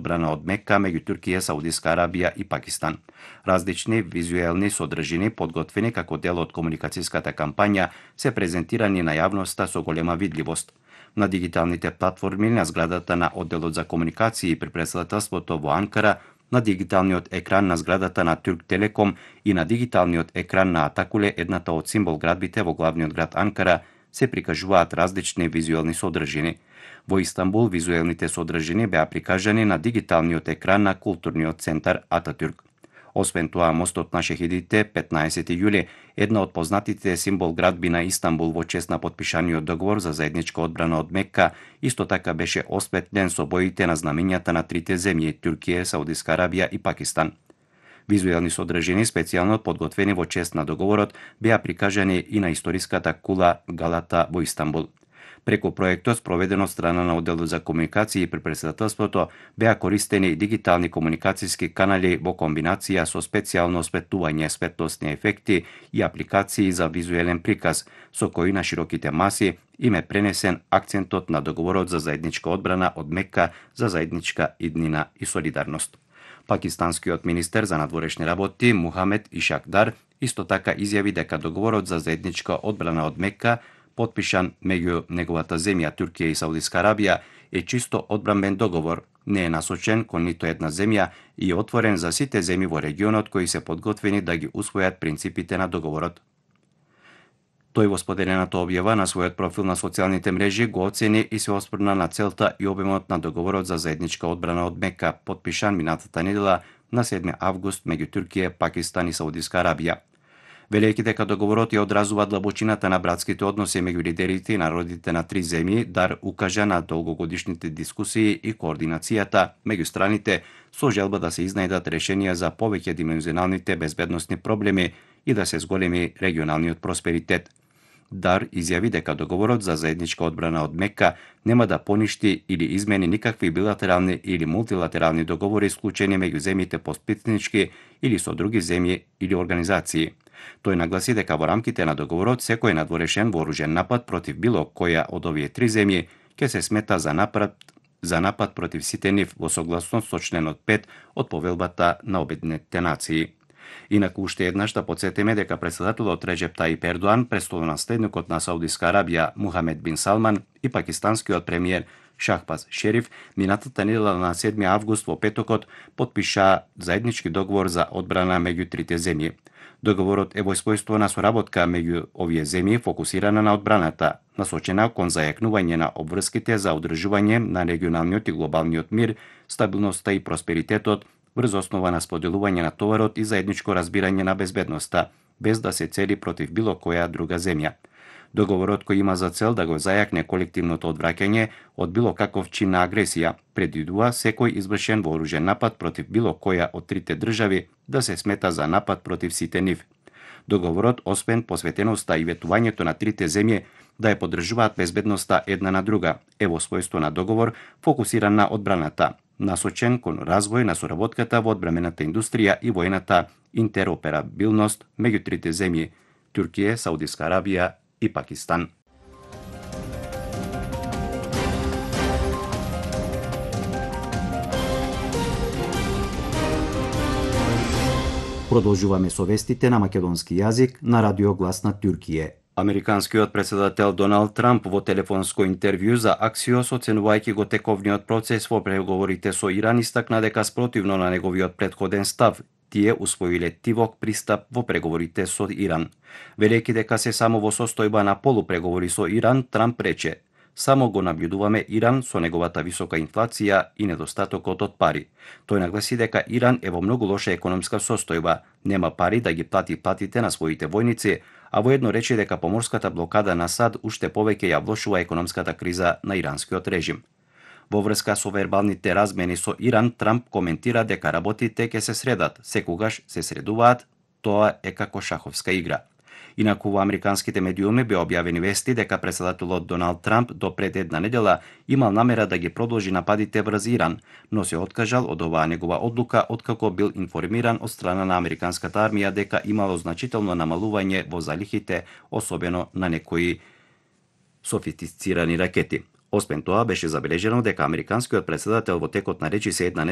одбрана од Мека меѓу Туркија, Саудиска Арабија и Пакистан. Различни визуелни содржини, подготвени како дел од комуникацијската кампања, се презентирани на јавноста со голема видливост. На дигиталните платформи на зградата на одделот за комуникации при претседателството во Анкара, на дигиталниот екран на зградата на Турк Телеком и на дигиталниот екран на Атакуле, едната од символ градбите во главниот град Анкара, се прикажуваат различни визуелни содржини. Во Истанбул визуелните содржини беа прикажани на дигиталниот екран на културниот центар Ататюрк. Освен тоа, мостот на шехидите, 15 јули, една од познатите символ градби на Истанбул во чест на потпишаниот договор за заедничка одбрана од Мекка, исто така беше осветлен со боите на знамењата на трите земји – Туркија, Саудиска Арабија и Пакистан. Визуелни содржини, специјално подготвени во чест на договорот, беа прикажани и на историската кула Галата во Истанбул. Преку проектот, спроведен од страна на одделот за комуникации при претседателството, беа користени дигитални комуникацијски канали во комбинација со специјално осветлување, светлосни ефекти и апликации за визуелен приказ, со кои на широките маси им е пренесен акцентот на договорот за заедничка одбрана од Мекка за заедничка иднина и солидарност. Пакистанскиот министер за надворешни работи Мухамед Ишакдар исто така изјави дека договорот за заедничка одбрана од Мекка, потпишан меѓу неговата земја Туркија и Саудиска Арабија, е чисто одбранбен договор, не е насочен кон ниту една земја и е отворен за сите земји во регионот кои се подготвени да ги усвојат принципите на договорот. Тој во споделената објава на својот профил на социјалните мрежи го оцени и се оспрна на целта и обемот на договорот за заедничка одбрана од Мекка, потпишан минатата недела на 7 август меѓу Туркија, Пакистан и Саудиска Арабија. Велејќи дека договорот ја одразува длабочината на братските односи меѓу лидерите и народите на три земји, Дар укажа на долгогодишните дискусии и координацијата меѓу страните со желба да се изнајдат решенија за повеќе димензионалните безбедносни проблеми и да се зголеми регионалниот просперитет. Дар изјави дека договорот за заедничка одбрана од Мекка нема да поништи или измени никакви билатерални или мултилатерални договори склучени меѓу земјите постпитнички или со други земји или организации. Тој нагласи дека во рамките на договорот секој надворешен вооружен напад против било која од овие три земји ќе се смета за напад против сите нив во согласност со членот 5 од повелбата на Обединетите нации. Инаку уште еднаш да потсетиме дека претседателот Реджеп Таип Ердоан, престолонаследникот на Саудиска Арабија Мухамед бин Салман и пакистанскиот премиер Шахбаз Шериф минатата недела на 7 август во петокот потпишаа заеднички договор за одбрана меѓу трите земји. Договорот е во својство на соработка меѓу овие земји фокусирана на одбраната, насочена кон зајакнување на обврските за одржување на регионалниот и глобалниот мир, стабилноста и просперитетот врз основа на споделување на товарот и заедничко разбирање на безбедноста, без да се цели против било која друга земја. Договорот кој има за цел да го зајакне колективното одвраќање од било каков чин на агресија, предвидува секој извршен вооружен напад против било која од трите држави да се смета за напад против сите нив. Договорот, освен посветеноста и ветувањето на трите земји да ја поддржуваат безбедноста една на друга, е во својство на договор фокусиран на одбраната, насочен кон развој на соработката во одбранената индустрија и војната интероперабилност меѓу трите земји – Туркија, Саудиска Арабија и Пакистан. Продолжуваме со вестите на македонски јазик на Радио Глас на Туркија. Американскиот претседател Доналд Трамп во телефонско интервју за Аксиос, оценувајќи го тековниот процес во преговорите со Иран, истакна дека спротивно на неговиот претходен став, тие усвоиле тивок пристап во преговорите со Иран. Велејќи дека се само во состојба на полупреговори со Иран, Трамп рече: "Само го набљудуваме Иран со неговата висока инфлација и недостатокот од пари." Тој нагласи дека Иран е во многу лоша економска состојба, нема пари да ги плати платите на своите војници, а воедно рече дека поморската блокада на САД уште повеќе ја влошува економската криза на иранскиот режим. Во врска со вербалните размени со Иран, Трамп коментира дека работите ќе се средат, секогаш се средуваат, тоа е како шаховска игра. Инаку во американските медиуми беа објавени вести дека претседателот Доналд Трамп до пред една недела имал намера да ги продолжи нападите врз Иран, но се откажал од оваа негова одлука откако бил информиран од страна на американската армија дека имало значително намалување во залихите, особено на некои софистицирани ракети. Освен тоа, беше забележено дека американскиот претседател во текот на речиси една